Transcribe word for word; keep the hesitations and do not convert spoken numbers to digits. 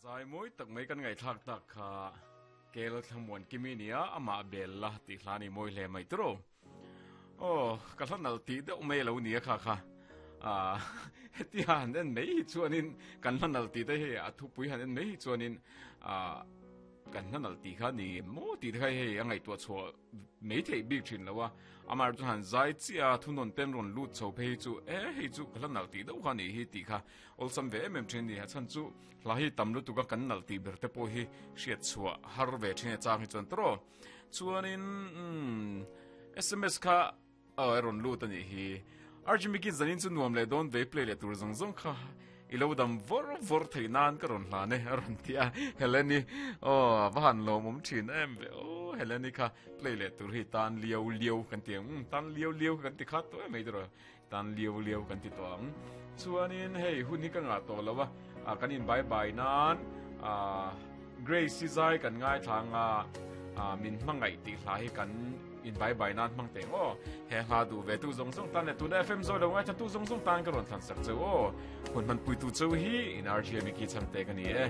Zai mawi tak mai kan ngaihthlak tak kha kel thlamuan kimi nia amah bel la tih hla ni mawi hle mai tiro. Oh, ka hla nal tih deuh mai lo nia kha kha. Ah, heti han en mai hi chuanin kan hla nal tih te hi a thupui han en mai hi chuanin ah kan hla nal tih kha ni mo tih te kha hei a ngaihtuah chhuah mai theih bik thin lo a. Amar chu han zai chia thunon ten ron lut chho phei chu e hei chu ka hla nal tih deuh kha ni hi tih kha awlsam ve em em thin ni. A chan chu hla hi tam lutuk a kan nal tih ber te pawh hi hriat chhuah har ve thin e chang hi chuan tro. Chuanin mm, S M S kha a ron lut ani hi. Arjimiki zanin chu nuam le don ve, play le tur zong zong kha ilo dam vor vor thei nan ka ron hla ne ron tia Heleni. O va han lo mum thin em ve. O Heleni kha play le tur hi tan liau liau kan ti um tan liau liau kan ti khat to mai dro tan liau liau kan ti to ang. Chuanin hei hun hi ka nga to lawa a kan in bye bye nan a Grace si zai kan ngai thanga a min hmangai ti hla hi kan in bye bye nan mang te o. He hla du ve tu zong zong tan le tu F M zo lo ngai tu zong zong tan ka ron thlan sak cheu o. Hun man pui tu cheu hi in R G M ki chang te ka ni e.